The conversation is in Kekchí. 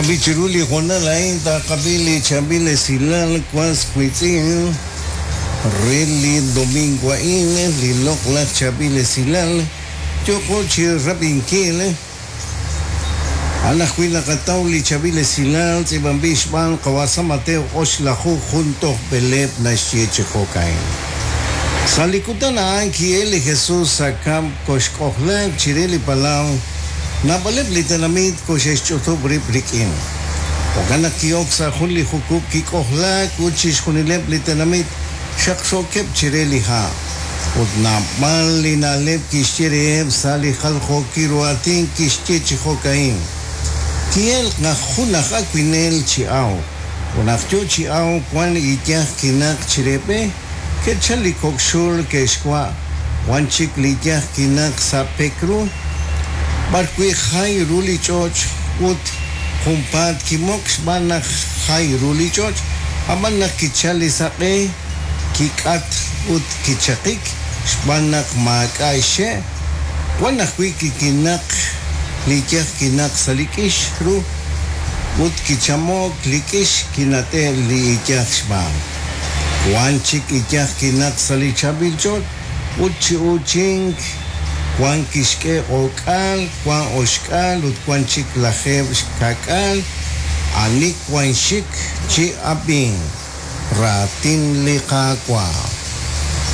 Jo'kan b'i' chiru li hoonal a'in taqab'i li chaab'il esilal was wiitz'in re li domingo a'in, li loq'laj chaab'il esilal yooqo chi rab'inkil. A'an ajwi' naqataw li chaab'il esilal tz'iib'anb'il xb'aan qawa' San Mateo oxlaju jun toj b'eleeb' naxye chi jo'ka'in. Sa' li kutan a'an ki'el li Jesus sa' kab'l koxk'ojlaaq chire li palaw, naab'aleb' li tenamit koxe'xch'utub' rib' rik'in. Jo'kan naq ki'ok sa' jun li jukub' kik'ojlaak ut chixjunileb' li tenamit xaqxookeb' chire li ha'. Ut naab'al li na'leb' kixye reheb' sa' li jaljookil ru aatin kixye chi jo'ka'in, Ki'elk naq jun aj awinel chi awk, ut naq yo chi awk wan iyaj kinaq chire b'e, ke'chal li kok' xul ke'xwa', wan chik li iyaj kinaq sa' pek ru, b'arwi' jay ru li ch'och' ut junpaat kimoq xb'aan naq jay ru li ch'och', ab'an naq kichal li saq'e, kik'at ut kichaqik xb'aan naq maak'a' xxe', wan ajwi' kikinaq li iyaj kinaq sa' li k'ix ru ut kichamo'k li k'ix kinat'e' li iyaj xb'aan. Wan chik iyaj kinaq sa' li chaab'il ch'och' ut chi uuchink, wan kixk'e o'k'aal, wan oxk'aal ut wan chik lajeeb' xka'k'aal, ani wan xik chi ab'ink. Raatin li Qaawa'.